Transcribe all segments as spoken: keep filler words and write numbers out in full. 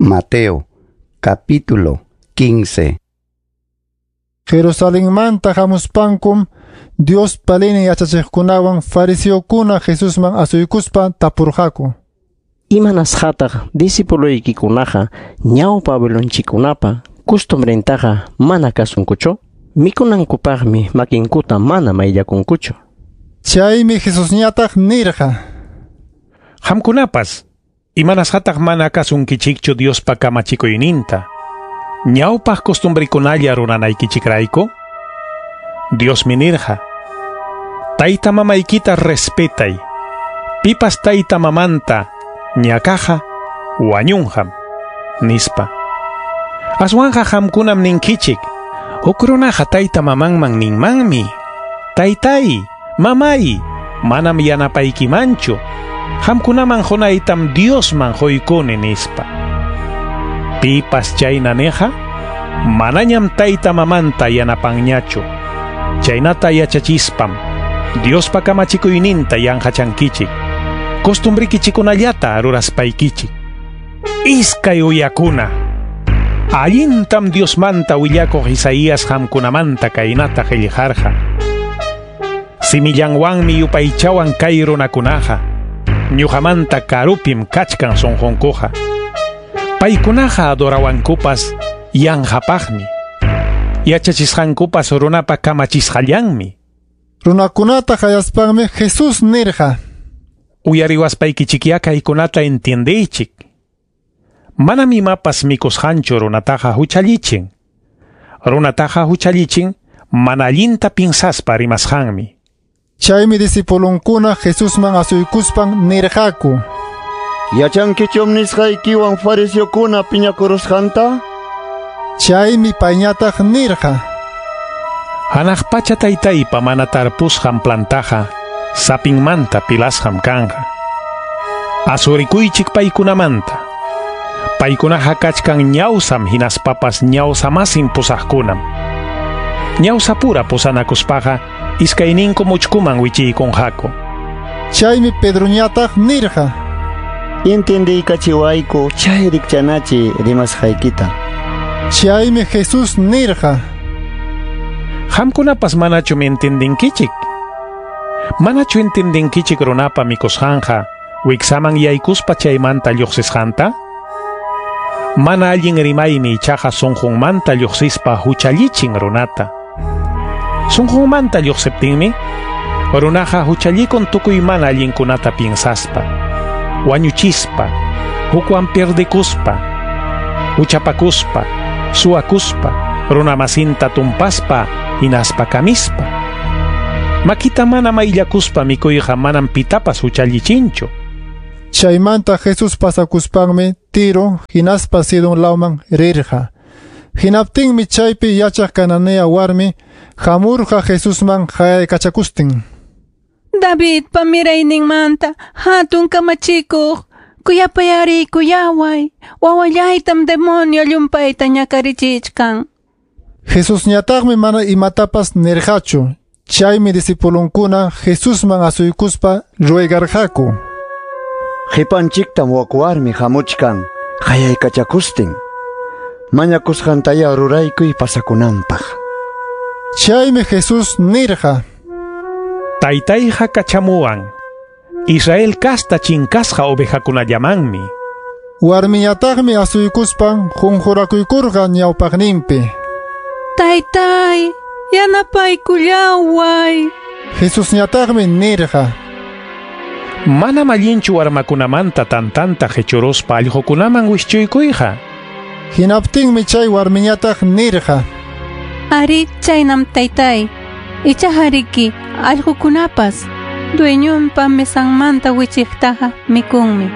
Mateo, capítulo quince. Jerusalenmanta hamuspankum Diospa leynin yachachiqkunawan fariseokuna Jesusman asuykuspa tapurqaku. Imanasqataq discipuloykikunaqa ñawpa abuelonchikkunapa costumbrentaqa mana kasunkuchu? Mikunankupaqmi makinkuta mana mayllakunkuchu. Chaymi Jesusñataq nirqa: Qamkunapas imanasqataq mana kasunkichikchu Diospa kamachikuyninta, ñawpaq costumbrikunalla ruranaykichikrayku? Diosmi nirqa: Tayta mamaykita respetay, pipas tayta mamanta ñakaqa wañunqam, nispa. Aswanqa qamkunam ninkichik, huk runaqa tayta mamanman ninmanmi: Taytay, mamay, manam yanapaykimanchu, qamkunaman qunaytam Diosman quykuni, nispa. Pipas chayna niqa, manañam tayta mamanta yanapanñachu. Chaynata yachachispam Diospa kamachikuyninta yanqachankichik, costumbrikichikunallata ruraspaykichik. Iskay uyakuna, allintam Diosmanta willakuq Isaías qamkunamanta kaynata qillqarqa: Simillanwanmi yupaychawan kay runakunaqa, ñuqamanta karupim kachkan sunqunkuqa. Paykunaqa adorawankupas yanqapaqmi, yachachisqankupas runapa kamachisqallanmi. Runakunata qayaspanmi Jesús nirqa: Uyariwaspaykichikya kaykunata entiendeychik. Manam imapas mikusqanchu runataqa huchallichin. Runataqa huchallichin mana allinta pinsaspa rimasqanmi. Chaymi discipulunkuna Jesusman asuykuspan nirqaku: Yachankichum nisqaykiwan fariseokuna piñakurusqanta? Chaymi payñataq nirqa: Hanaq pacha taytaypa mana tarpusqan plantaqa sapinmanta pilasqam kanqa. Asurikuychik paykunamanta. Paykunaqa kachkan ñawsam hinaspapas ñawsamasin pusaqkunam. Ñawsapura pusanakuspaqa iskayninku muchkuman wichiykunqaku. Chaymi Pedroñataq nirqa: Intindiykachiwayku chay rikchanachi rimasqaykita. Chaymi Jesús nirqa: Qamkunapas manachum entendinkichik? Manachu entendinkichik runapa mikusqanqa wiksaman yaykuspa chaymanta lluqsisqanta? Mana allin rimaymi ichaqa sunqunmanta lluqsispa huchallichin runata. Sunqunmanta lluqsiptinmi runaqa huchallikun tukuy mana allinkunata piensaspa, wañuchispa, hukwan pierdekuspa, huchapakuspa, suwakuspa, runamasinta tumpaspa, hinaspa kamispa. Makita mana mayllakuspa mikuyqa manam pitapas huchallichinchu. Chaymanta Jesús pasakuspanmi Tiro hinaspa Sidon lawman rirqa. Hinaptinmi chaypi yachaq Cananea warmi hamurqa Jesusman qayaykachakustin: Davidpa mirayninmanta hatun kamachikuq, kuyapayarikuyaway, wawallaytam demonio llumpayta ñakarichichkan. Jesusñataqmi mana imatapas nirqachu. Chaymi discipulunkuna Jesusman asuykuspa ruegarqaku: Qipanchiktam wak warmi hamuchkan qayaykachakustin, mañakusqantaya ruraykuy pasakunanpaq. Chaymi Jesús nirqa: Taytayqa kachamuwan Israel kasta chinkasqa ovejakunallamanmi. Warmiñataqmi asuykuspan qunqurakuykurqa ñawpaqninpi: Taytay, yanapaykullaway. Jesusñataqmi nirqa: Manam allinchu warmakunamanta tantanta qichuruspa allqukunaman wischuykuyqa. Hinaptinmi chay warmiñataq nirqa: Ari, chaynam taytay, ichaqa allqukunapas dueñonpa mesanmanta wichiqtaqa mikunmi.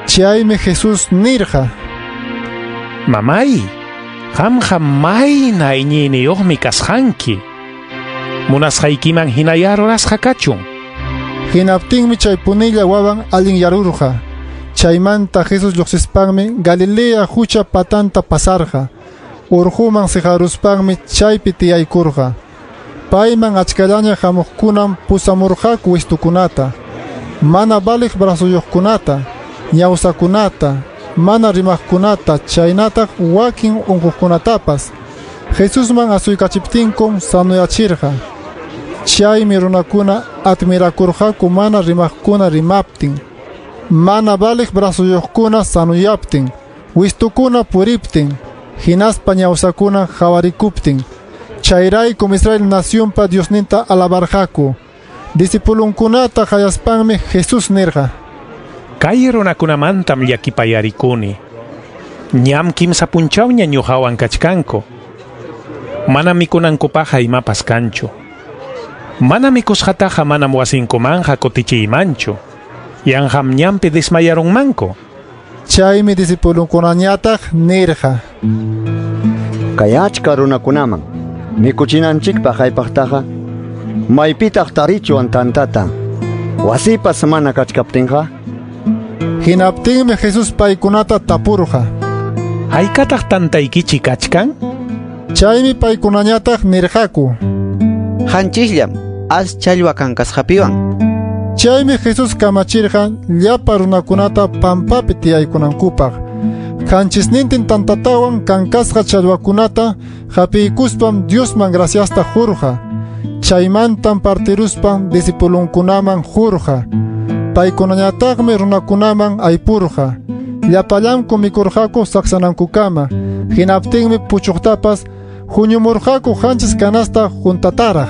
Chaymi Jesús nirqa: Mamay, qamqa mayna iñiyniyuqmi kasqanki. Munasqaykiman hinaya rurasqa kachun. Hinaptinmi chay punilla wawan allinyarurqa. Chaymanta Jesús lluqsispanmi Galilea hucha patanta pasarqa. Urquman siqaruspanmi chaypi tiyaykurqa. Payman achkallaña hamuqkunam pusamurqaku wistukunata, mana valiq brazuyuqkunata, ñawsakunata, mana rimaqkunata chaynataq wakin unquqkunatapas. Jesusman asuykachiptinkum sanoyachirqa. Chaymi runakuna admirakurqaku mana rimaqkuna rimaptin, mana valiq brazuyuqkuna sanuyaptin, wistukuna puriptin, hinaspa ñawsakuna qawarikuptin. Chayraykum Israel nacionpa Diosninta alabarqaku. Discipulunkunata qayaspanmi Jesús nirqa: Kay runakunamantam llakipayarikuni. Ñam kimsa punchawña ñuqawan kachkanku. Mana mikunankupaqqa imapas kanchu. Mana mikusqataqa manam wasinkumanqa kutichiymanchu. Yanqam ñampi desmayarunmanku. Chaymi discipulunkunañataq nirqa: Kay achka runakunaman mikuchinanchikpaq haypaqtaqa maypitaq tarichwan tantata, wasipas mana kachkaptinqa. Hinaptinmi Jesús paykunata tapurqa: Haykataq tantaykichik kachkan? Chaymi paykunañataq nirqaku: Hanchisllam as challwa kankasqapiwan. Chaymi Jesús kamachirqa llapa runakunata pampapi tiyaykunankupaq. Qanchisnintin tantatawan kankasqa challwakunata hapiykuspam Diosman graciasta qurqa. Chaymantam partiruspan discipulunkunaman qurqa. Paykunañataqmi runakunaman aypurqa. Llapallanku mikurqaku saksanankukama. Hinaptinmi puchuqtapas huñumurqaku qanchis canasta juntataraq.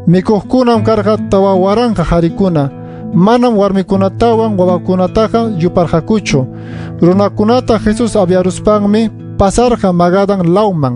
Mikuqkunam karqa tawa waranqa qarikuna. Manam warmikunatawan wawakunataqa yuparqakuchu. Runakunata Jesús aviaruspanmi pasarqa Magadan lawman.